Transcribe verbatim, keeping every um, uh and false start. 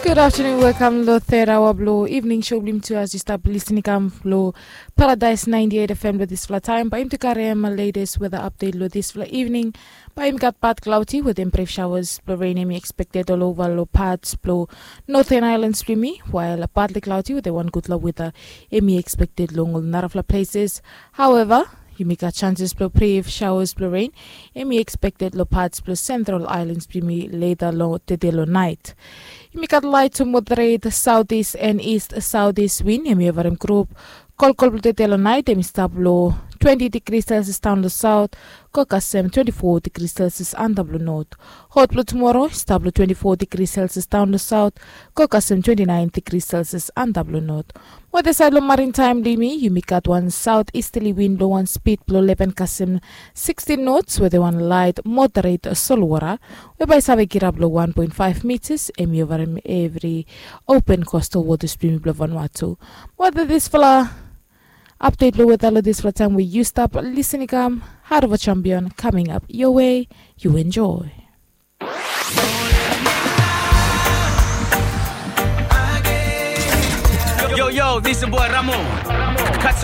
Good afternoon, welkam long third hour blong evening show blong yumi tu as yu stap listening kam long Paradise ninety-eight F M long dispela taim. Bai yumi tu karim latest weather update long dispela evening. Bai yumi gat part cloudy with em brief showers blong rain em i expected all over long parts blong Northern Islands blong yumi, while partly cloudy with a one gutpela weather em i expected long ol narafla places. However, yumi gat chances blong brief showers blong rain em i expected long parts blong Central Islands blong yumi later long tede long night. Yumi gat light to moderate southeast and east southeast wind em i ovarim grup. Kolkol blong tede long night em i stap long twenty degrees Celsius down long south, go kasem twenty-four degrees Celsius antap long north. Hot blong tumoro i stap long twenty-four degrees Celsius down long south, go kasem twenty-nine degrees Celsius antap long north. Weather side long maritime blong yumi, yumi gat wan southeasterly wind blong wan speed blong eleven kasem sixteen knots with a wan light moderate solwara, we bai save kirap long one point five meters em i ovarim every open coastal waters blong yumi blong Vanuatu. Weather dispela update long weather long dispela taim we yu stap listening kam, Heart of a Champion coming up your way. You enjoy. Yo, yo, this is boy Ramo.